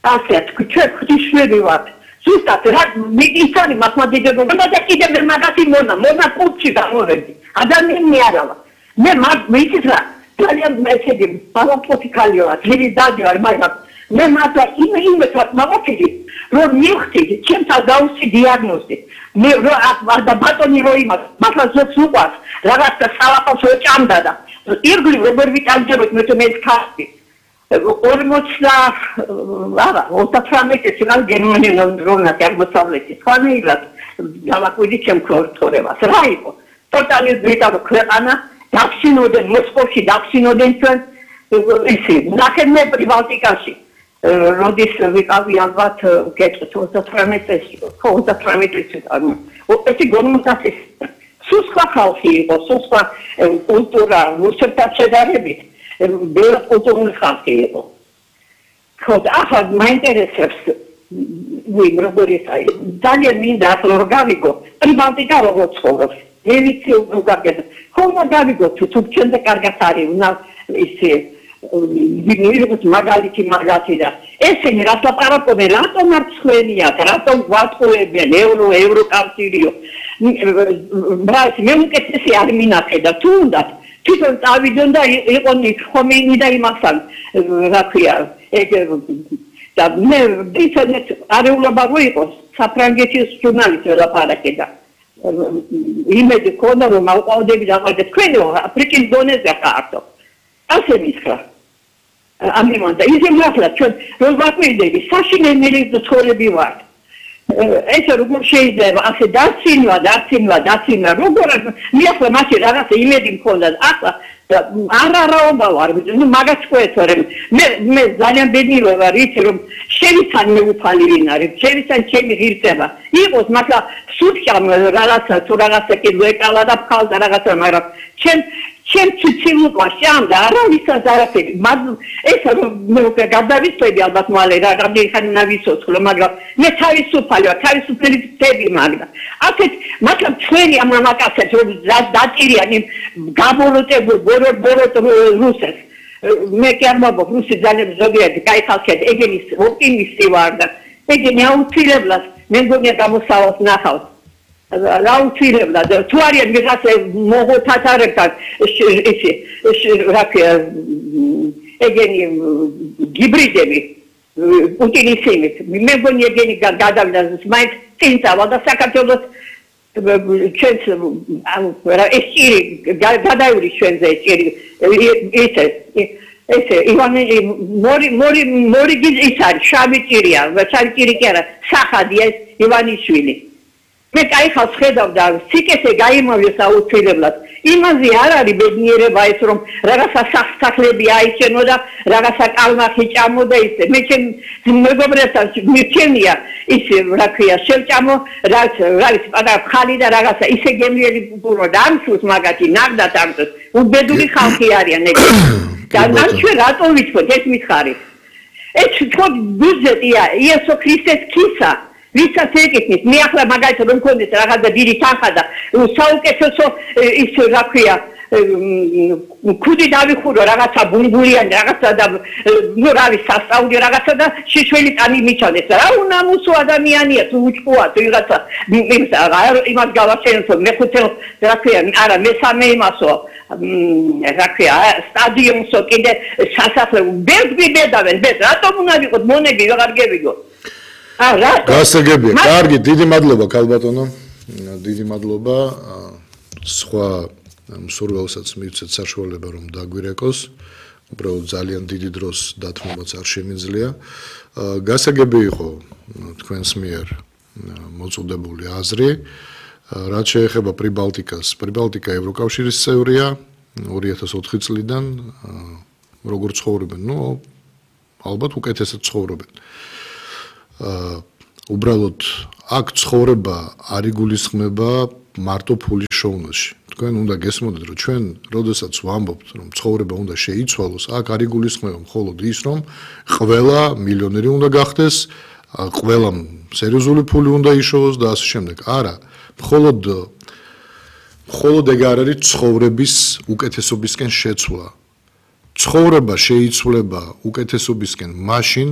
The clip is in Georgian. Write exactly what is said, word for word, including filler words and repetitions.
ასე ჩვენ ღვთისმშობლები ვართ. ზუსტად რა მიგიცანი მართლმადიდებელმა და კიდევ მაგათი მონა მონა კუჩი გამოვედი. ადამიანი არა ვარ. მე ვიცით რა ძალიან მეცედი ბალანსი ქალიოა ძილი დადიარ მაგრამ მე მართლა იმ იმესაც მოვაფიქრი რომ მივხვდი ჩემს დაუსი დიაგნოზი მე რა და ბატონი რო იმას მართლა ზოგს უყვარს რაღაცა სალაპას ეჭამდა და ირგვლივ როგორ ვიტანჯებოდ მე მე ხარ ორმოც არა ოცდათხმეტი წელი გერმანიიდან რომნა გამოსავლეთი ხანილად დავაკვირდი ჩემ ქორთორებას რა იყო ტოტალიზმის ქვეყანა დაფსინოდნენ მოსკოვში დაფსინოდნენ ჩვენ ისი ნახევრ პრიბალტიკაში როდის ვიყავი ალბათ გეტყვით ოცდათხმეტი წელი ხო ოცდათხმეტი წელი ეს გორმოსასის სუსხა ხალხი იყო სუსხა კულტურა რუსებთან შედარებით ბევრი კულტურული ხალხი იყო ხო ახლა მაინტერესებს ვინ როგორ ისაა ძალიან მინდა რომ გავიგო პრიბალტიკა როგორ ცხოვრობს მე ვიცი უგაგეთ ხომ გავიგო თუ ჩვენზე კარგად არის უნდა ისე ვიღაც მაგალითი მაგათი და ესენი რაც ლაპარაკობენ რატომ არ ცხვენიათ რატომ გვატყუებენ ევრო ევროკავშირიო ბრაც მე უკეთესი არ მინახე და თუნდაც თვითონ წავიდონ და იყონ ხომეინი და იმასთან რა ქვია ეგ და მე ვიცოდეთ არეულობა რო იყოს საფრანგეთის ჟურნალისტი ლაპარაკე და იმედი ქონდა რომ აუყავდები და მაგ თქვენ აფრიკის დონეზე ხართ ასე მითხრა ამიმან და ისე მართლა ჩვენ რომ ვაკვირდები საშინელი ცხოვრები ვართ ეს როგორ შეიძლება ასე დაცინვა დაცინვა დაცინვა როგორ მე ახლა მაშინ რაღაცა იმედი მქონდა ახლა არ არაობა ვარ ნუ მაგას ყვეთორემ მე მე ძალიან ბედნიერი ვარ იცი რომ შევიცან მე უფალი ვინ არის შევიცან ჩემი ღირსება იყოს მაგრამ სუთხამ რაღაცა თუ რაღაცა კი ვეკალა და ფხალდა რაღაცა მაგრამ ჩემ ჩემ ციცილუყვაში ამ და არავისაც არაფერი მაგ ეს რომ მე უკვე გადავიწევი ალბათ მალე რა რამდენი ხანი ნავიცოცხლო მაგრამ მე თავისუფალი ვარ თავისუფალი ვწევი მაგრამ ასეთ მაგრამ ჩვენი ამ მამაკაცებს რომ დაწირიან იმ გაბოროტებულ ბოროტ ბოროტ რუსებს მე კი არ მოგ რუსი ძალიან ზოგიერთი კაი ხალხია ეგენის ოპტიმისტი ვარ და ეგენი აუცილებლად მე მგონია გამოსავალს ნახავს რა უცილებლად თუ არიან ვიღაცა მოგო თათარებთან ისი რა ქვია ეგენი გიბრიდები პუტინის იმით მე მგონია ეგენი გადავიდა მაინც წინ წავალ და საქართველოს ჩვენს რა ეს ჭირი გადაივრი ჩვენზე ჭირი ესე ესე ივანე მორი მორი მორი ის არის შავი ჭირია შავი ჭირი კი არა სახადია ივანიშვილი მე კაი ხალხს ხედავდა სიკეთე გაიმოვლეს აუცილებლად იმაზე არ არის ბედნიერება ეს რომ რაღაცა სახსახლები აიჩენო და რაღაცა კალმახი ჭამო და ისე მე ჩემ მეგობრებთან მირჩენია ისე რა ქვია შევჭამო რაც არის პატარა ხალი და რაღაცა ისე გემრიელი პურო და ამსუს მაგათი ნაგდათ ამსუს უბედური ხალხი არიან ეგ და ან ჩვენ რატომ ვიცხოთ ეს მითხარით ეს თქო ბუზეტია იესო ქრისტეს ქისა ვისაც ეკითხით მე ახლა მაგალითად რომ მქონდეს რაღაცა დიდი თანხა და საუკეთესო ის რა ქვია ქუდი დავიხურო რაღაცა ბუნგულიანი რაღაცა და ნუ რა ვიცი სასწაული რაღაცა და შიშველი ტანი მიჩანდეს რა უნამუსო ადამიანია თუ უჭყუა თუ რაღაცა იმას გავაჩენო მეხუთე რა ქვია არა მესამე იმასო რა ქვია სტადიონსო კიდე სასახლე ბედგვი ბედავენ ბედ რატომ უნდა ვიყოთ მონები ვეღარ გევიგო გასაგებია. კარგი, დიდი მადლობა ქალბატონო. დიდი მადლობა. სხვა მსურველსაც მივცეთ საშუალება რომ დაგვირეკოს. უბრალოდ ძალიან დიდი დროს დათმობაც არ შემიძლია. გასაგები იყო თქვენს მიერ მოწოდებული აზრი. რაც შეეხება პრიბალტიკას, პრიბალტიკა ევროკავშირის წევრია ორი ათას ოთხი წლიდან როგორ ცხოვრობენ? ნუ ალბათ უკეთესად ცხოვრობენ. უბრალოდ აქ ცხოვრება არ იგულისხმება მარტო ფულის შოუნაში. თქვენ უნდა გესმოდეთ რომ ჩვენ როდესაც ვამბობთ რომ ცხოვრება უნდა შეიცვალოს, აქ არ იგულისხმება მხოლოდ ის რომ ყველა მილიონერი უნდა გახდეს, ყველა სერიოზული ფული უნდა იშოვოს და ასე შემდეგ. არა, მხოლოდ მხოლოდ ეგ არ არის ცხოვრების უკეთესობისკენ შეცვლა. ცხოვრება შეიცვლება უკეთესობისკენ მაშინ